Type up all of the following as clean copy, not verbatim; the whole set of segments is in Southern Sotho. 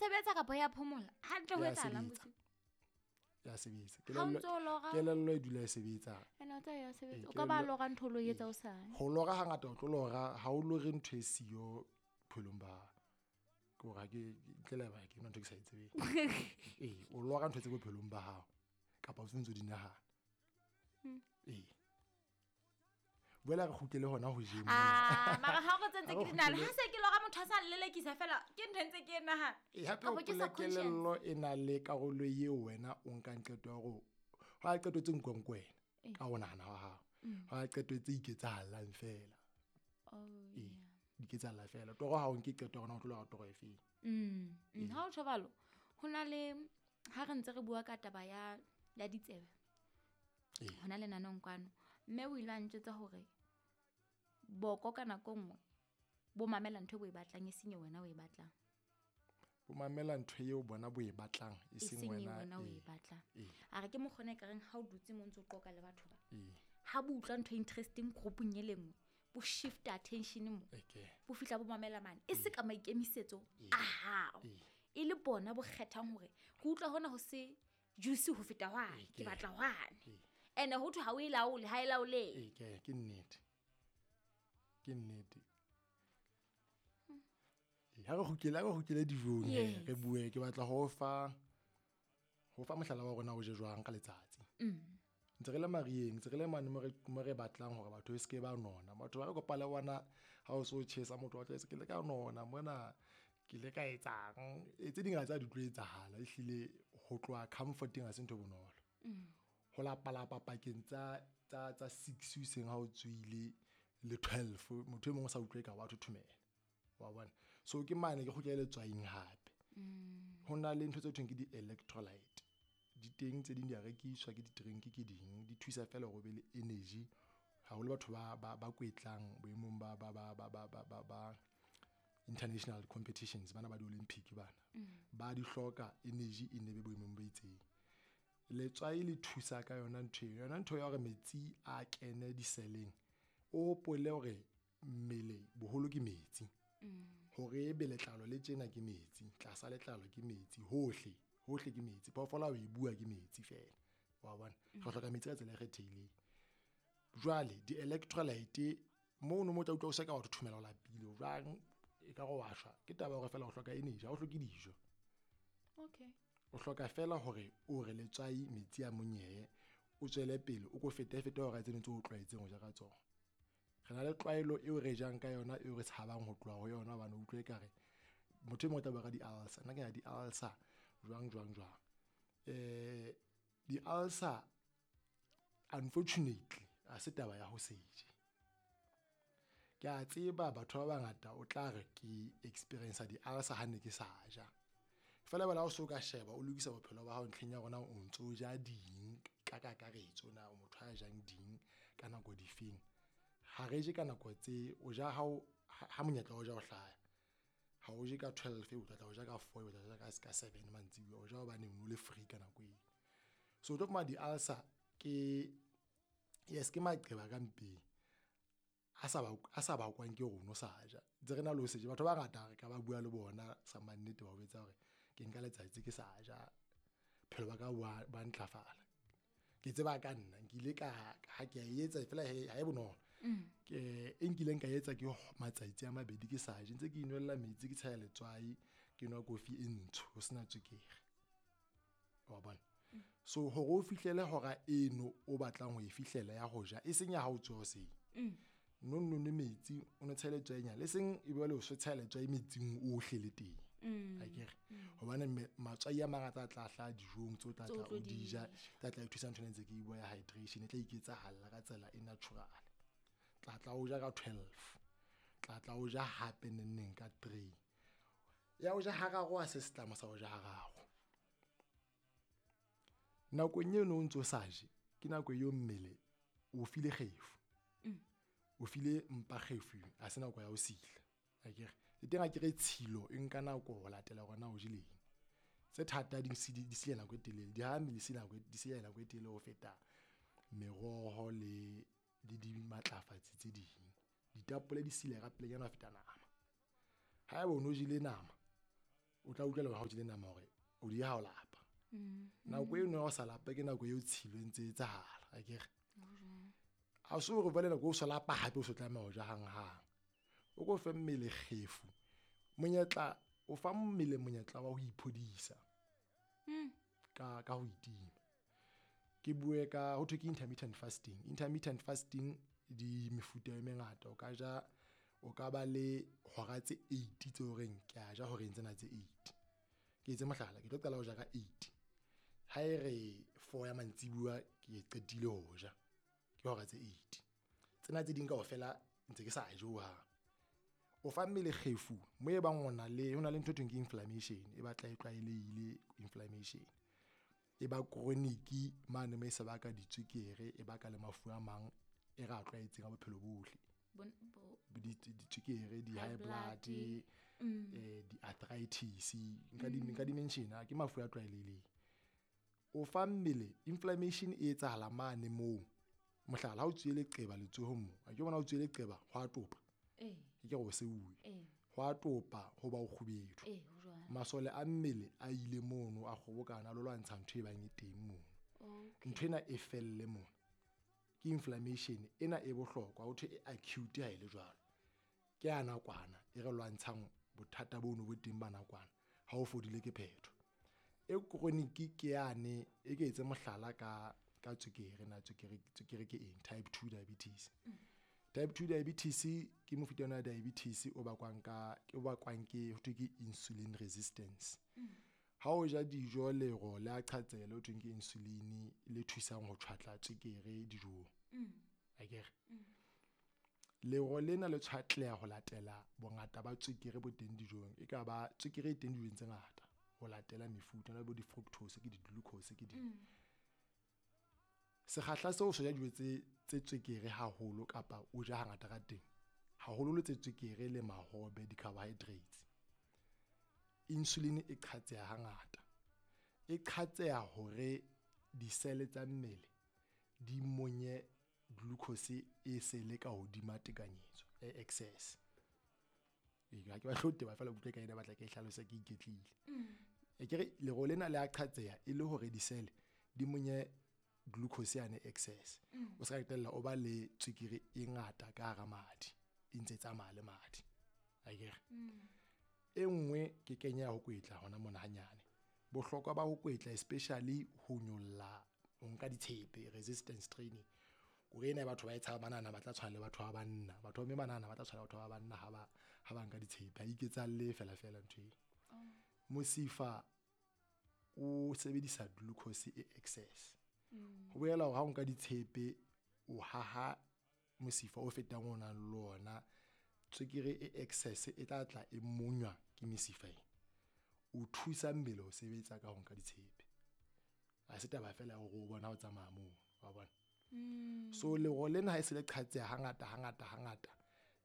sebetsa kapa ya phomola hantle ho Ya etsahalang sebetsa. bosiu? Ya sebetsa. Ha o ntso o lora- Kelello e dula e sebetsa. Ene o tsa ya sebetsa. Ee, O ka ba kelello- lora ntho o lo etsa o sane. Ho lora hangata o tlo lora ha o lore ntho e siyo bophelong ba hao. Ke hore ha ke ntle le haeba ke yona ntho e ke sa e tsebeng. Ee, o lora ntho tse bophelong ba hao kapa o ntso di nahana. Ee. Boela re kgutlele hona ho jeng mona. Ah, mara ha o tsentse Ha ke re di nahana. kgutlele- Ha se ke lora motho a sa nlelekisa fela, ke ntho e ntse ke e nahana. Ee, hape Kapa ke hopola subconscious. kelello e na le karolo eo wena o nkang qeto ya hore ho a qeto tse nkuwang ke wena ka ho nahana wa hao. Ho a qeto tse iketsahallang fela. Oh, Ee, di iketsahalla fela. Toro ha o nke qeto ya hore na o tlo lora toro efeng. Ha o tjho jwalo, ho na le ha re ntse re bua ka taba ya ditsebe. Ee. Hona lenaneng kwano. Mme o ile a ntjwetsa hore boko ka nako e nngwe bo mamela ntho e bo e batlang e seng e wena o e batlang. Bo mamela ntho eo bona bo e batlang e E seng seng e wena. wena o e Ee, batlang. Ee. A re ke mokgona e kareng ha o dutse mo o ntso o qoqa le batho ba. Ee. Ha bo utlwa ntho e interesting group-ung e le nngwe, bo shift attention mo. Okay. Bo fihla bo mamela mane. E se ka maikemisetso a hao. Ee. E le bona bo kgethang hore ke utlwa hona ho se juicy ho feta hwane, ke Ee. batla hwane. Ene ho thwe ha o e laole, ha e laolehe. Ee, ke nnete. Ke nnete. Ee, ha re kgutlele dijong he, Yes. re bue ke batla ho fa mohlala wa rona o je jwang ka letsatsi. Ntse re le marieng, ntse re le mane mo re batlang hore batho e seke ba nona. Batho ba re kopa le bona ha o so tjhesa motho wa tla ke le ka nona mona ke le ka etsang. Ee, tse ding ha tsa di tlo etsahala ehlile ho tloha comforting ha se ntho e bonolo. Ho lapalapa pakeng tsa 6 hoseng ha o tswile le 12 motho e mong o sa utlwe ka wa thothomela. Wa bona? So ke mane ke kgutlele letswaing hape. Ho na le ntho tse thweng ke di-electrolyte. Di teng tse ding di a rekiswa ke di-drink ke ding di thusa fela hore o be le energy. Haholo batho ba kwetlang boemong ba international competitions bana ba di-Olympic bana. Ba di hloka energy e nne be boemong bo itseng. Letswai le thusa ka yona ntho eo. Yona ntho ya hore metsi a kene diseleng. O hopole hore mmele boholo ke metsi. Hore ebe letlalo le tjena ke metsi, tlasa letlalo ke metsi, hohle, hohle ke metsi. Phoofolo ha o e bua ke metsi fela. Wa bona? Re hloka metsi ka tsela e kgethehileng. Jwale di-electrolyte mono mo tla utlwa o se ka wa thothomela o lapile jwang e ka re wa shwa. Ke taba ya hore fela o hloka energy, ha o hloke dijo. Okay. O hloka fela hore o re letswai metsi a monyehe, o tswele pele o ko fete fete hora tseno tse o tlwaetseng ho ja ka tsona. Re na le tlwaelo eo re jang ka yona eo re tshabang ho tloha ho yona hobane o utlwe ekare motho e mong o tla bua ka di-ulcer. Nna ke na di-ulcer jwang jwang jwang. Di-ulcer unfortunately ha se taba ya ho se je. Ke a tseba batho ba bangata o tla re ke experience di-ulcer ha ne ke sa ja. Feela bala o so ka sheba o lokisa bophelo ba hao ntlheng ya rona o ntso ja ding ka kakaretso na o motho a jang ding ka nako difeng. Ha re je ka nako tse o ja ha monyetla o ja o hlaya. Ha o je ka 12 o tla tla o ja ka 4 o tla ja ka 7 mantsibuya o ja hobane o le free ka nako eo. So o tlo fumana di-ulcer ke yes ke maqeba ka mpeng. A sa bakwang ke rona o sa ja. Ntse re na le ho se je. Batho ba bangata re ka ba bua le bona sa mannete ba o jwetsa hore ke nka letsatsi ke sa ja. Bophelo ba ka ba ntlafala. Ke tseba ka nna nkile ka ha ke a etsa fela ha e bonolo. Ke e nkileng ka etsa ke matsatsi a mabedi ke sa je ntse ke inwella metsi ke tshela letswai ke nwa kofi e ntsho ho sena tswekere. Wa bona? So hore o fihlele hora eno o batlang ho e fihlela ya ho ja e seng ya ha o tsoha hoseng. No no nwe metsi o no tshele letswai nyana le seng e be le o so tshela letswai metsing ohle le teng. Akere hobane matswai a mangata a tla hlaha dijong tseo tla tla o di ja, tla tla e thusa ntho ena ntse ke e bua ya hydration e tla iketsahalla ka tsela e natural. Tla tla o ja ka 12. Tla tla o ja hape neng neng ka 3. Ya o ja hararo ha se setlamo sa o ja hararo. Nakong eno o ntso sa je, ke nako eo mmele o file kgefu. O file mpa kgefu, ha se nako ya ho sila. Akere le teng akere tshilo e nka nako ho latela hore na o jeleng. Tse thata di sila nako e telele, di ha mmele di sila nako e telele ho feta meroho le dimatlafatsi tse ding. Ditapole di sila ka pelenyana ho feta nama. Haeba o no jele nama O tla utlwela hore ha o jele nama hore o di ha o lapa. Nako eno ya ho sa lape ke nako eo tshilo e ntse e etsahala, akere? Ha se hore jwale nako o so lapa hape o so tlameha ho ja hanghang. O ko fe mmele kgefu, monyetla, o fa mmele monyetla wa ho iphodisa ka ho itima. Ke bue ka ho thwe ke intermittent fasting. Intermittent fasting di mefuta e mengata. O ka ja, o ka ba le hora tse 8 tse horeng ke a ja horeng tsena tse 8. Ke etse mohlala, ke tlo qala ho ja ka 8. Ha e re 4 ya mantsibuya ke qetile ho ja, ke hora tse 8. Tsena tse ding kaofela ntse ke sa je hohang. O fa mmele kgefu mo e bang o na le, ho na le ntho e thweng ke inflammation, e batla e tlwaelehile inflammation. E ba chronic mane mo e se baka ditswekere, e baka le mafu a mang e re a tlwaetseng a bophelo bohle. Ditswekere, di-high blood, di-arthritis, nka di mention, ke mafu a tlwaelehileng. O fa mmele inflammation e etsahala mane moo. Mohlala, ha o tswile leqeba letsohong moo, a ke bona o tswile leqeba ho a topa. Ke ke re o seuwe. Ho a topa ho ba o kgubedu. Masole a mmele a ile mono a kgobokana a lo lwantsha ntho e bang e teng mono. Ntho ena e felle mono. Ke inflammation ena e bohlokwa, ho thwe e acute ha e le jwalo. Ke ya nakwana e re lwantshang bothata bono bo teng ba nakwana, ha o fodile ke phetho. E chronic ke yane e ke etse mohlala ka tswekere, na tswekere ke eng? Type 2 diabetes. Type 2 diabetes ke mofuta wa diabetes o bakwang ka, o bakwang ke ho thwe ke insulin resistance. Ha o ja dijo lero le a qhatsela ho thweng ke insulin le thusang ho tshwatla tswekere dijong. Akere? Lero lena le tshwatleha ho latela bongata ba tswekere bo teng dijong. E ka ba tswekere e teng dijong tse ngata ho latela mefuta, le bo di-fructose, ke di-glucose, ke di. Sekgahla seo se ja dijo tse tswekere haholo kapa o ja hangata ka teng, haholo tse tswekere le mahobe, di-carbohydrates. Insulin e qhatseha hangata. E qhatseha hore di-cell tsa mmele di monye glucose e se le ka hodima tekanyetso, e excess. Ha ke batle ho teba feela utlwe ka ena, batla ke hlalose ke iketlile. E ke re lero lena le a qhatseha e le hore di-cell di monye glucose yane excess. O ska qetella o ba le tswekere e ngata ka hara madi, e ntse tsamaya le madi. Akere? E nngwe ke kenya ho kwetla hona mona hanyane. Bohlokwa ba ho kwetla especially ho nyolla, ho nka ditshepe, resistance training. Hore ena batho ba e tshaba banana ba tla tshwana le batho ba banna. Batho ba mme banana ba tla tshwana le batho ba banna ha ba nka ditshepe. Ha iketsahalle fela fela ntho e. Mosifa o sebedisa glucose e excess. Ho bolela hore ha o nka ditshepe o haha mosifa o fetang o nang le ona, tswekere e excess e tla tla e monywa ke mesifa ena. O thusa mmele ho sebetsa ka ho nka ditshepe. Ha se taba fela ya hore o bona ho tsamaya moo, wa bona? So lero lena ha e se le qhatseha hangata, hangata, hangata,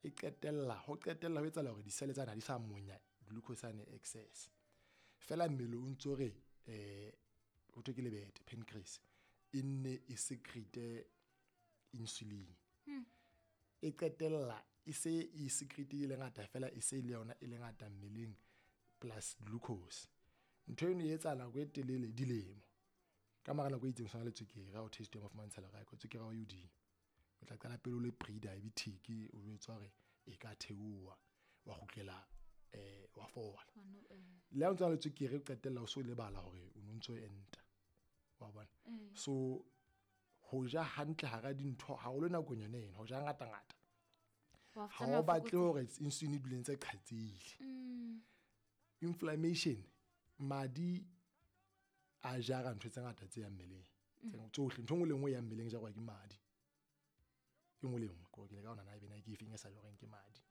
e qetella, ho qetella ho etsahala hore di-cell tsena ha di sa monya glucose yane excess. Fela mmele o ntso re, ho thwe ke lebete, pancreas, e nne e secrete insulin. E qetella e se e secrete e le ngata fela, e se le yona e le ngata mmeleng plus glucose. Ntho eno e etsahala nako e telele, dilemo. Ka mora nako e itseng o tshwana le tswekere, ha o test ya mafumantsha le raiko, tswekere ya hao e hodimo. O tla qala pele o le pre-diabetic, o jwetswa hore e ka theoha, wa kgutlela, wa fola. Le ha o ntso le tswekere, o qetella o so lebala hore o no ntso enta. Wa bona? So ho ja hantle hara dintho haholo nakong yona ena, ho ja ngata ngata. Ha o batle hore insulin e dule ntse qhatsehile. Inflammation, madi a jara ntho tse ngata tse yang mmeleng. Tsohle, ntho e nngwe le nngwe e yang mmeleng e jarwa ke madi. E nngwe le nngwe, ke le ka hona na ebe na ke efeng e sa jarweng ke madi.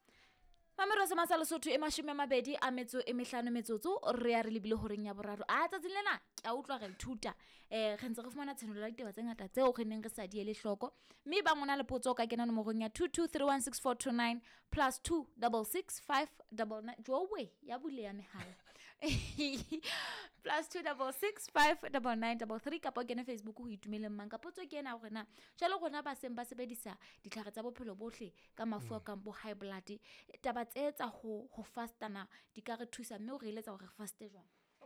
Mamelo se matsa Lesotho e 25 metsotso, re ya re lebile horeng ya boraro. A tsatsing lena ke a utlwa re ithuta. Re ntse re fumana tshenolo ya ditaba tse ngata tseo re neng re sa di ele hloko. Mme ba ngwana le potso ka kena nomorong ya 22316429 plus 266599. Jowe ya buleha mehala. +266 59933 kapa o kene Facebook ho Itumeleng Mang. Ka potso ke ena hore na jwale rona ba seng ba sebedisa ditlhare tsa bophelo bohle ka mafu a kang bo high blood, taba tse tsa ho fastana di ka re thusa, mme o re eletsa hore re faste jwang?